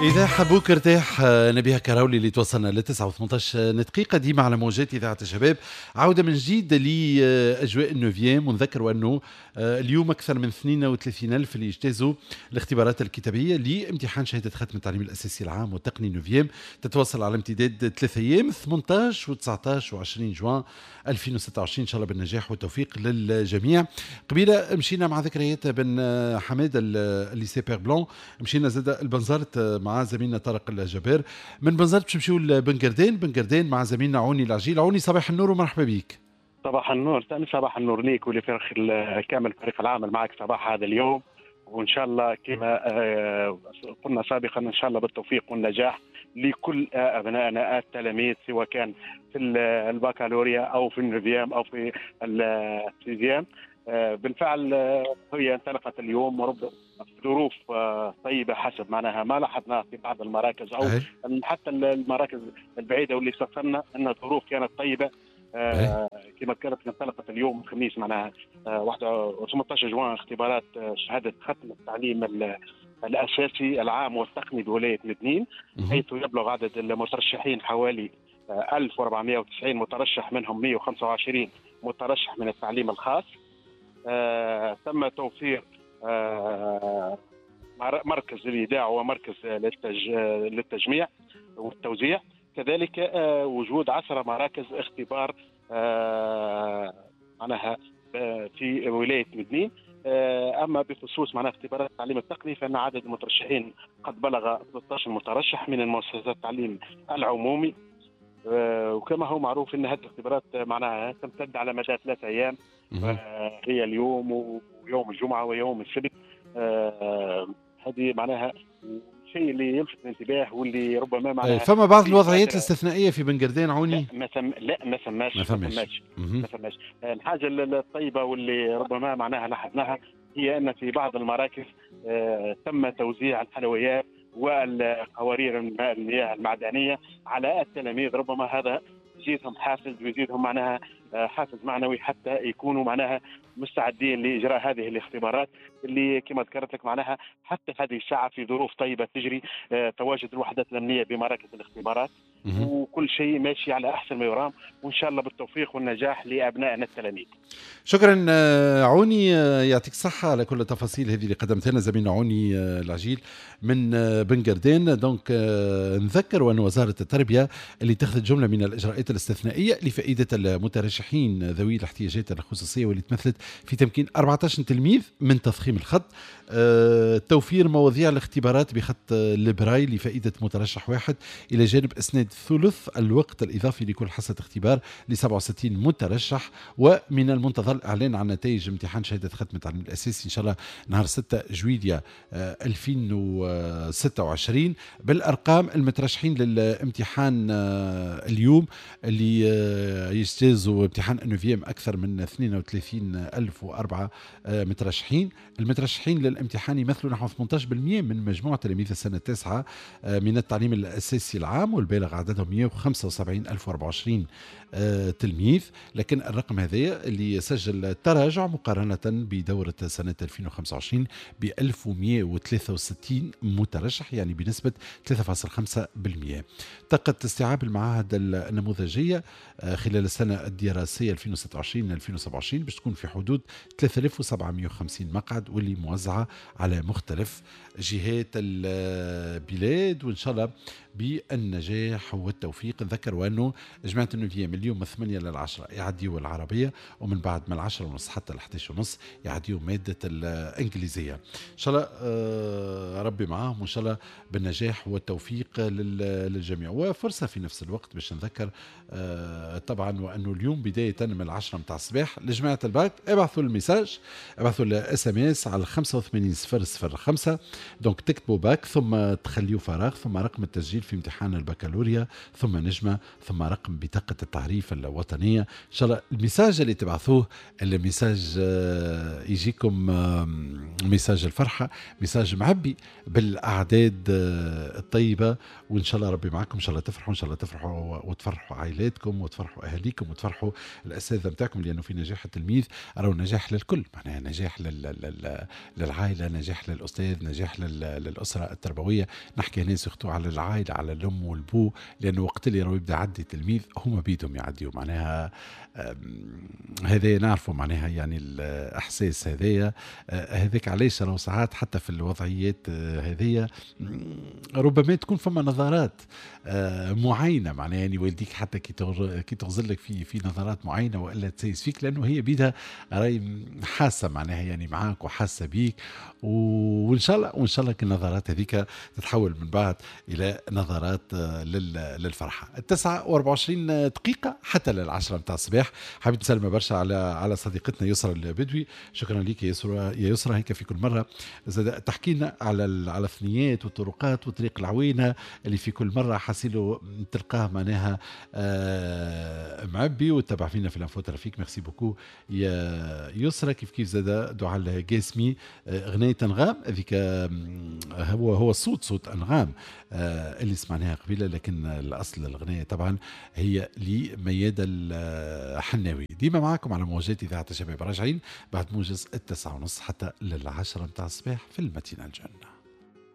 إذا حبوك ارتاح، نبيها كراولي اللي توصلنا ل 9 و18 دقيقة ديما على موجات إذاعة الشباب. عودة من جديد لأجواء ال neuvième، ونذكر أنه اليوم أكثر من 32 ألف اللي يجتازوا الاختبارات الكتابية لامتحان شهادة ختم التعليم الأساسي العام والتقني neuvième، تتواصل على امتداد 3 أيام، 18 و19 و20 جوان 2026. إن شاء الله بالنجاح والتوفيق للجميع. قبيلة مشينا مع ذكريات بن حماد ال lycée Père Blanc، مشينا زاد البنزرت مع زميلنا طارق الجبار. من بنزرت باش نمشيو لبن قردان، بن قردان مع زميلنا عوني العجيل. عوني، صباح النور ومرحبا بك. صباح النور، صباح النور ليك ولفريق كامل فريق العمل معك صباح هذا اليوم، وان شاء الله كما قلنا سابقا ان شاء الله بالتوفيق والنجاح لكل ابنائنا التلاميذ، سواء كان في البكالوريا او في ال neuvième او في ال sixième. بالفعل هي انطلقت اليوم ورب ظروف طيبة حسب معناها ما لاحظناه في بعض المراكز او حتى المراكز البعيدة واللي استفسرنا ان الظروف كانت طيبه. كما ذكرت، انطلقت اليوم الخميس معناها 18 جوان اختبارات شهادة ختم التعليم الاساسي العام والتقني بولاية مدنين، حيث يبلغ عدد المترشحين حوالي 1490 مترشح، منهم 125 مترشح من التعليم الخاص. تم توفير مركز للإيداع ومركز للتجميع والتوزيع، كذلك وجود 10 مراكز اختبار معناها في ولاية مدنين. أما بخصوص معناها اختبارات التعليم التقني، فإن عدد المترشحين قد بلغ 13 مترشح من المؤسسات التعليم العمومي. وكما هو معروف ان هذه الاختبارات معناها تمتد على مدى 3 ايام، هي اليوم ويوم الجمعة ويوم السبت. هذه معناها الشيء اللي يلفت الانتباه واللي ربما معناها فما بعض الوضعيات الاستثنائية في بن قردان عوني؟ لا ما ثم لا ما ثماش. ما ثماش. ما ثماش. الحاجة الطيبة واللي ربما معناها لاحظناها هي ان في بعض المراكز تم توزيع الحلويات والقوارير المياه المعدنية على التلاميذ، ربما هذا يزيدهم حافز ويزيدهم معناها حافز معنوي حتى يكونوا معناها مستعدين لاجراء هذه الاختبارات اللي كما ذكرت لك معناها حتى هذه الساعة في ظروف طيبة تجري. تواجد الوحدات الامنية بمراكز الاختبارات وكل شيء ماشي على احسن ما يرام، وان شاء الله بالتوفيق والنجاح لابنائنا التلاميذ. شكرا عوني، يعطيك الصحة على كل التفاصيل هذه اللي قدمتها لنا زميلنا عوني العجيل من بن قردان. donc نذكر أن وزارة التربية اللي اتخذت جملة من الإجراءات الاستثنائية لفائدة المترشحين ذوي الاحتياجات الخصوصية، واللي تمثلت في تمكين 14 تلميذ من تضخيم الخط، توفير مواضيع الاختبارات بخط البراي لفائدة مترشح واحد، إلى جانب إسناد ثلث الوقت الإضافي لكل حصة اختبار ل 67 مترشح. ومن المنتظر الإعلان عن نتائج امتحان شهادة ختم التعليم الأساسي إن شاء الله نهار 6 جويلية 2026. بالأرقام، المترشحين للامتحان اليوم اللي يجتازوا امتحان neuvième أكثر من 32 ألف وأربعة مترشحين. المترشحين للامتحان يمثلوا نحو 18% من مجموع تلاميذ السنة التاسعة من التعليم الأساسي العام، والبالغ عددهم 175 ألف 24 تلميذ. لكن الرقم هذا اللي سجل تراجع مقارنة بدورة سنة 2025 ب 1163 مترشح، يعني بنسبة 3.5%. طاقة استيعاب المعاهد النموذجية خلال السنة الدراسية 2026 2027 باش تكون في حدود 3750 مقعد، واللي موزعة على مختلف جهات البلاد، وإن شاء الله بالنجاح والتوفيق. نذكر وأنه جماعة ال neuvième اليوم من 8 لل10 يعديوا العربية، ومن بعد من 10:30 حتى ل 11:30 يعديوا مادة الإنجليزية. إن شاء الله ربي معاهم، وإن شاء الله بالنجاح والتوفيق للجميع. وفرصة في نفس الوقت باش نذكر طبعا وأنه اليوم بداية من 10 متاع الصباح لجماعة الباك، ابعثوا ال message، ابعثوا ال SMS على 85005. donc تكتبوا باك، ثم تخليوا فراغ، ثم رقم التسجيل في امتحان البكالوريا، ثم نجمة، ثم رقم بطاقة التعريف الوطنية. إن شاء الله ال message اللي تبعثوه، ال message يجيكم message الفرحة، message معبي بالأعداد الطيبة، وإن شاء الله ربي معكم. إن شاء الله تفرحوا، إن شاء الله تفرحوا وتفرحوا عائلاتكم وتفرحوا أهاليكم وتفرحوا الأساتذة نتاعكم، لأنه في نجاح التلميذ راهو نجاح للكل، معناها نجاح للعائله، نجاح للاستاذ، نجاح للاسرة التربويه. نحكي هنا surtout على العائله، على الام والبو، لانه وقت اللي راهو يبدا يعدي تلميذ هما بيدهم يعديوا، معناها هذا نعرفوا معناها يعني الاحساس هذايا. هذاك علاش راهو ساعات حتى في الوضعيات هذيا ربما تكون فما نظرات معينه، معناها يعني والديك حتى كي تغزر لك في نظرات معينة والا تسيس فيك، لانه هي بيدها راهي حاسه معناها يعني معاك وحاسه بيك. وان شاء الله النظرات هذيك تتحول من بعد الى نظرات للفرحه. 9:24 حتى لل10 متاع الصباح. حبيت نسلم برشا على صديقتنا يسرى البدوي. شكرا لك يا يسرى، يا يسرى هيك في كل مرة زاد تحكي لنا على الثنيات والطرقات وطريق العوينة اللي في كل مرة حاسيلو تلقاه معناها معبي، وتتبع فينا في l'info trafic. merci beaucoup يا يسرى. كيف كيف زاد دعاء القاسمي، غناية انغام هذيك هو الصوت صوت انغام اللي سمعناها قبيله، لكن الاصل الغنايه طبعا هي لميادة الحناوي. ديما معاكم على موجات اذاعة الشباب، راجعين بعد موجز 9:30 حتى لل10 متاع الصباح في ال matinale.